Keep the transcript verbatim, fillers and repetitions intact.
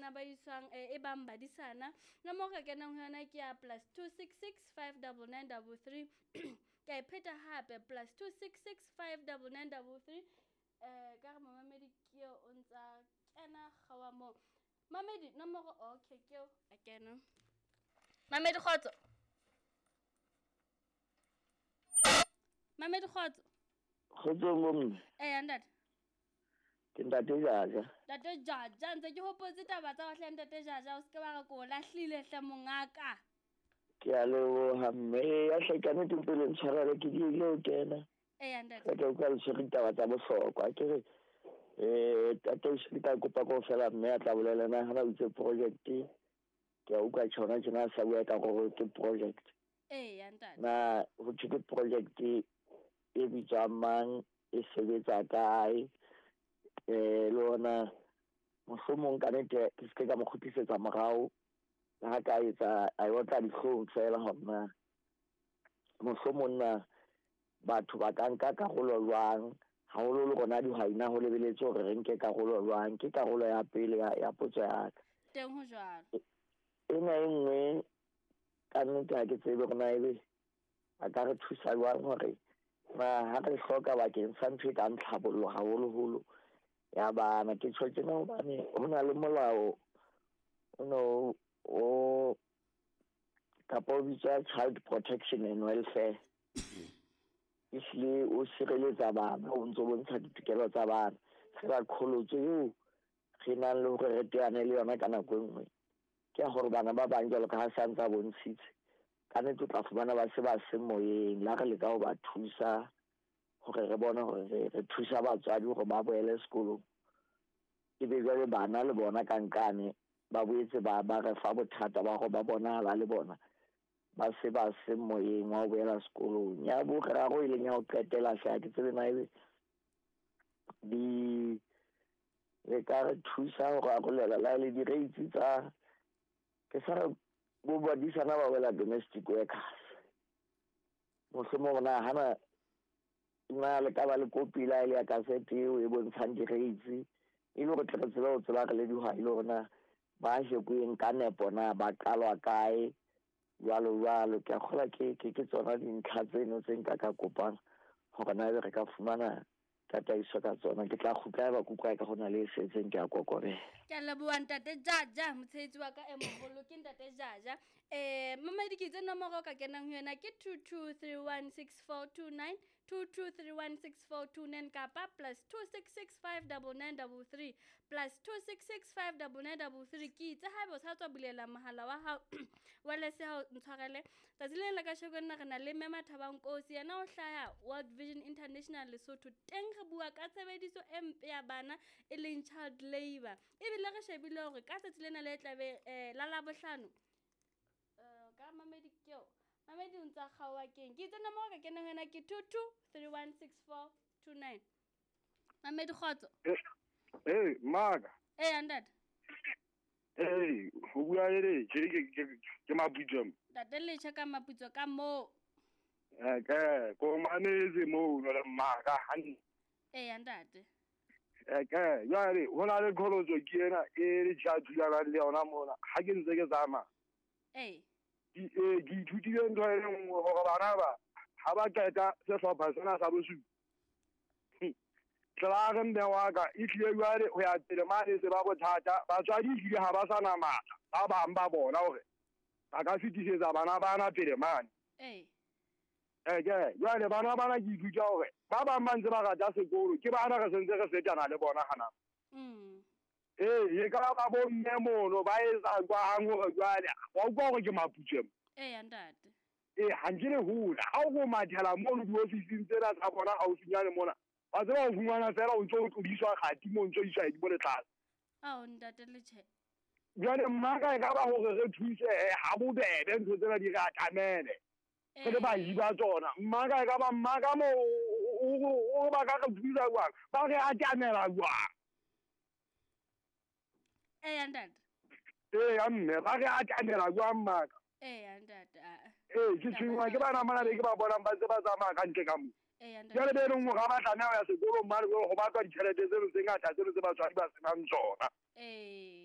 bana ba iswang e bang badisana. Nomoro ka kenang ho yona ke ya plus two six six five double nine double three. Ke a e pheta hape plus two six six five double nine double three. Eh ka re momamedi ke eo o ntsa kena kgawa moo. Mamedi nomoro okay ke eo a kena. Mamedi kgotso. Mamedi kgotso. Kgotso bomme. Eh ntate. Ke ntate Jaja. Ntate Jaja ntse ke hopotse taba tsa hle ntate Jaja o se ke ba re ko lahlile hle mongaka. Ke a leboha mme ya hle ka nnete pele ntshwarele ke diile ho kena. Eh ntate. Ke tla utlwa le tshwere ditaba tsa bohlokwa ke re eh tate o se ka kopa kaofela mme a tla bolela na hana o itse project ke a utlwa tjhona tjena sa bua ka gore ke project. Eh ntate. Na ho thwe ke project e bitswang mang e sebetsa kae eh le ona mohlomong ka nnete ke se ka mo kgutlisetsa morao le ha ka etsa a e otla dihlong fela hore na mohlomong na batho ba ka nka karolo jwang haholo le rona dihwai na ho lebeletse hore re nke karolo jwang. Ke karolo ya pele ya, ya potso ya ka. Teng ho jwalo. Ena e nngwe ka nnete ha ke tsebe hore na ebe a ka re thusa jwang hore na ha re hloka bakeng sa ntho e kang tlhabollo haholoholo ya bana. Ke tjho tjena hobane ho na le molao o no o kapa o bitswa Child Protection and Welfare. Ehlile o sireletsa bana, o ntso bontsha ditokelo tsa bana. Fela qholotso eo re nang le hore re teane le yona ka nako e nngwe ke ya hore bana ba bang jwalo ka ha sa ntsa bontshitse ka nnete o tla fumana ba se ba se moyeng. La re leka ho ba thusa hore re bone hore re re thusa batswadi hore ba boele sekolong, ebe jwale bana le bona ka nkane ba boetse ba ba re fa bothata ba hore ba bonahala le bona ba se ba se moyeng wa ho boela sekolong. Ya boraro e leng ya ho qetela hle ha ke tsebe na ebe di le ka re thusa ho rarolela la le di-rates tsa ke sa re bo badisana ba wela domestic workers. Mohlomong na hana na le ka ba le kopi la ile ya kasete eo e bontshang di-rates e le hore tle re tsebe ho tseba re le dihwai le hore na ba shekweng ka nepo na ba qalwa kae jwalo jwalo. Ke a kgolwa ke ke ke tsona dintlha tseno tse nka ka kopang hore na ebe re ka fumana tataiso ka tsona. Ke tla kgutla eba kutlwa ka hona le e setseng ke a kokobela. Ke a leboha ntate Jaja, motshehetsi wa ka e moholo ke ntate Jaja. Eh mamedi ke itse nomoro ka kenang ho yona ke two two three one six four two nine, two two three one six four two nine kapa plus two six six five double nine double three, plus two six six five double nine double three. Ke itse haeba o sa tswa bulela mohala wa hao wa lese ha o ntshwarele. Tsatsi le la kasheko nna re na le Mme Mathaba Nkosi, yena o hlaha World Vision International Lesotho. Teng re bua ka tshebediso e mpe ya bana e leng child labor. Ebile re shebile hore ka tsatsi lena le tlabe eh la Labohlano eh ka mamedi ke eo mamedi o ntsa kgaoha keng. Ke itse nomoro ka kenang ho yona ke two two three one six four two nine. Mamedi kgotso. Eh maka. Eh ntate. Eh ho bua le ke ke ke Maputso. Ntate Letjha ka Maputso ka moo. Eh ke ko mametse moo no le maka hantle. Eh ntate. Eh ke jwale ho na le qholotso ke ena e le tja thulanang le yona mona ha ke ntse ke tsamaya. Eh ke eh ke ithutile ntho e le nngwe hore bana ba ha ba qeta sehlopha sena sa bosupa tla re mme wa ka e tlile jwale ho ya pele mane se ba bothata batswadi ehlile ha ba sa na matla ba bang ba bona hore ba ka fetisetsa bana bana pele mane. Eh eh ke jwale bana bana ke ithuta hore ba bang ba ntse ba rata sekolo ke bana re sentse re setana le bona hana. Mm. Eh e ka ba bo mme mono ba etsa jwang hore jwale wa utlwa hore ke Maputso. Eh ntate. Eh ha nke le hola ha o go mathela mono diofising tsena tsa bona haufinyane mona ba tseba ho fumana fela o ntso o tlodiswa kgati mo ntso iswa di bole tlase. Ao ntate Letjhe. Jwale mmaka e ka ba hore re thuse ha bobebe ntho tsena di re atamele. Re le bahi ba tsona mmaka e ka ba mmaka mo o ba ka re thusa jwang ba re atamela jwang. Eh ntate. Eh ya mme ba re atamela jwang mmaka. Eh ntate. Eh ke tshwenngwa ke bana mona be ke ba bonang ba ntse ba tsamaya ka ntle ka mo. Eh ntate. Jwale be leng hore ha ba tlameha ho ya sekolong mane ho batlwa ditjhelete tseno tse ngata tseno tse batswadi ba senang tsona. Eh.